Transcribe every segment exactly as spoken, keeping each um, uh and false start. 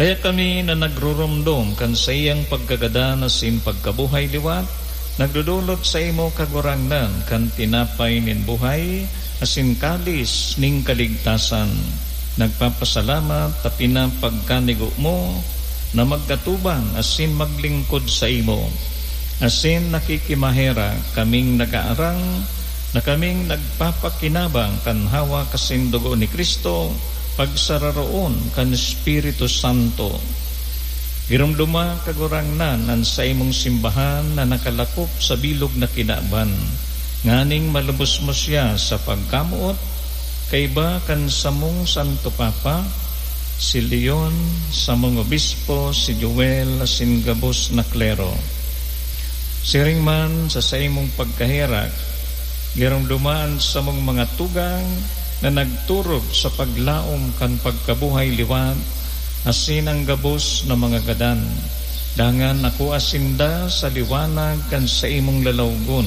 Kaya kami na nagruromdom kan saiyang pagkagadan asin pagkabuhay liwat, nagdodolot saimo, Kagurangnan, kan tinapay nin buhay asin kalis nin kaligtasan. Nagpapasalamat ta pinapagkanigo mo na magkatubang asin maglingkod saimo. Asin nakikimaherak kaming nagaarang na kaming nagpapakinabang kan hawak asin dugo ni Cristo, pagsararoon kan Espiritu Santo. Giromdoma, Kagurangnan, an saimong simbahan na nakalakop sa bilog na kinaban, nganing malubos mo siya sa pagkamoot, kaiba kan samong Santo Papa, si Leon, samong obispo, si Joel, asin gabos na klero. Siring man sa saimong pagkaherak, giromdoma an samong mga tugang na nagturog sa paglaom kan pagkabuhay liwat, asin an gabos na mga gadan. Dangan akua sinda sa liwanag kan saimong lalawgon.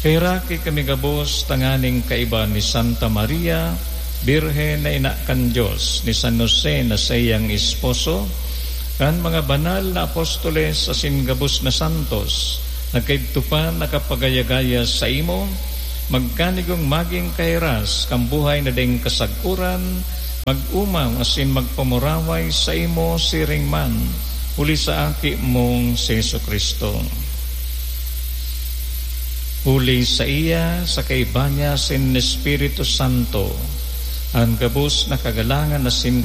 Kaheraki kami gabos tanganing kaiba ni Santa Maria, Birhen na ina kan Dios, ni San Jose na saiyang esposo, kan mga banal na apostoles asin gabos na santos, na kaidto pa nakapagaya-gaya saimo, magkanigong magin kahiras kan buhay na daing kasagkoran, mag-omaw asin magpamuraway saimo siring man, huli sa Aki mong si Jesu-Cristo. Huli saiya, sa kaiba niya asin Espiritu Santo, an gabos na kagalangan asin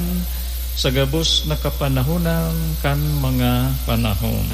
sa gabos na kapanahonan kan mga panahon.